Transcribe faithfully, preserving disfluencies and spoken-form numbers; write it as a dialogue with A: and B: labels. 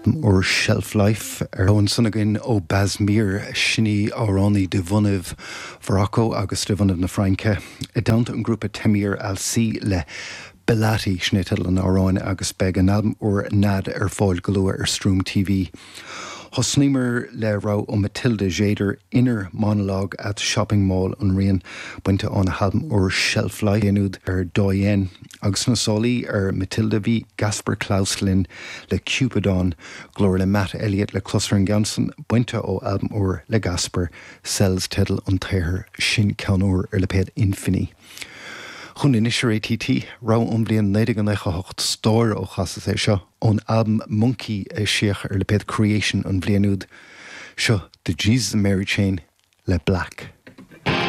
A: Úr Shelf Life ar ansan againn ó Basmir sin í amhránaí de bhunadh Mharacó agus de bhunadh na Fraince. I dteannta an grúpa Tamir Al-Si le Belati sin é teideal an amhráin agus beidh an albam úr Nad ar fáil go luath ar Stream TV. Thosnaíomar le rogha ó Matilda Jader Inner Monologue at Shopping Mall an rian bainte óna halbam úr Shelf Life úd ar Doyen agus na sálaí ar Matilda bhí Gasper Klaus linn le Cupidon glór le Matt Elliott le clos ar an gceann san bainte ó albam úr le Gasper Cells teideal an tsaothair sin ceann úr ar lipéad Infini. Chun anois ar ATT rogha ón bhliain naoi déag nócha hocht stór ó chasas é seo ón albam Monkey a eisíodh ar lipéad Creation an bhliain úd. Seo The Jesus and Mary Chain le Black.